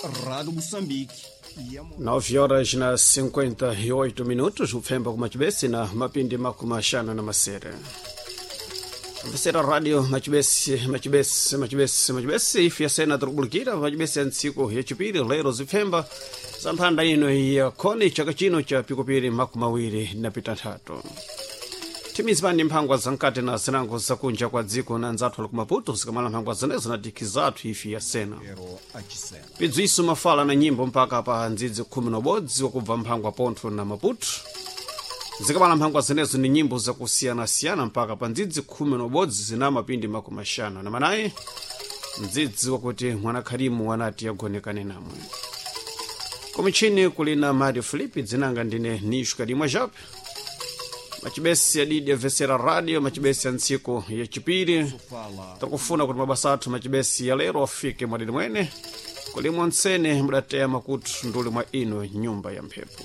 Rádio Moçambique e a 9 horas na 58 minutos, upfemba kumachibesi na mapindi makumi axanu na masere. Mvesera radio machibesi, machibesi, machibesi, machibesi, ife yasena tikubulikira machibesi ya ntsiku yachipiri lero zipfemba za mphanda ino ya khoni chaka chino cha pikupiri makumi awiri na pitanthatu. Timizipani mphangwa zamkati na zinango zakunja kwa dziko na nzathu ali kumaputo zikamala mphangwa zenezo na dikhi zathu ife yasena. Pero achisena. Pidziwiso mafala na nyimbo mpaka pa ndzidzi khumi na ubodzi wakubva mphangwa pontho na maputo. Zikamala mphangwa zenezo ni nyimbo zakusiyanasiyana mpaka pa ndzidzi khumi na ubodzi zina mapindi makumi axanu na manayi, mdzidzi wakuti mwanakhalimu wanati yagonekane namwe. Kumichini kulina Mario Filipe, dzinanga ndine Nisho Kadimwa Jape. Machibesi yadidi yavesera radio machibesi ya ntsiku yachipiri. Fala Takufuna kuti mabasa athu machibesi ya lero afike mwadidi mwene kulimwa ntsene mudateya makutu nduli mwa ino nyumba ya mphepo.